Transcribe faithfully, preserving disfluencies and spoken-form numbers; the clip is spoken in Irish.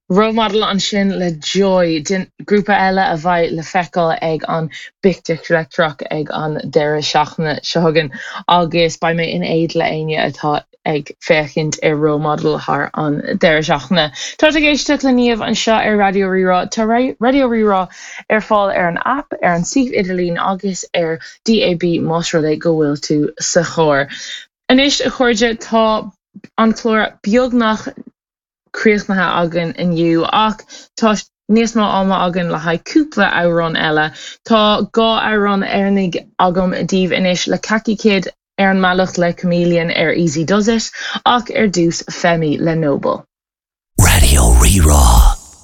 Role Model ansin le Joy den grúpa eile a bheidh le feiceáil ag an bPicnic Leictreach ag an deireadh seachtaine seo chugainn agus beidh mé in éad le éinne atá ag féachaint ar Role Model thar an deireadh seachtaine. Tá ag éisteacht le Niamh anseo ar Raidió Rí-Rá Tá Raidió Rí-Rá ar fáil ar an app ar an suíomh idirlín agus ar DAB más rud é go bhfuil tú sa charr. Anois a chairde tá an clár beagnach críochnaithe againn inniu ach tá níos mó ama againn le haghaidh cúpla amhrán eile. Tá dhá amhrán dheireanach agam daoibh anois le Kaki Kid ar an mbealach le Chameleon ar Easy Does It ach ar dtús Femi le Noble. Raidió Rí-Rá.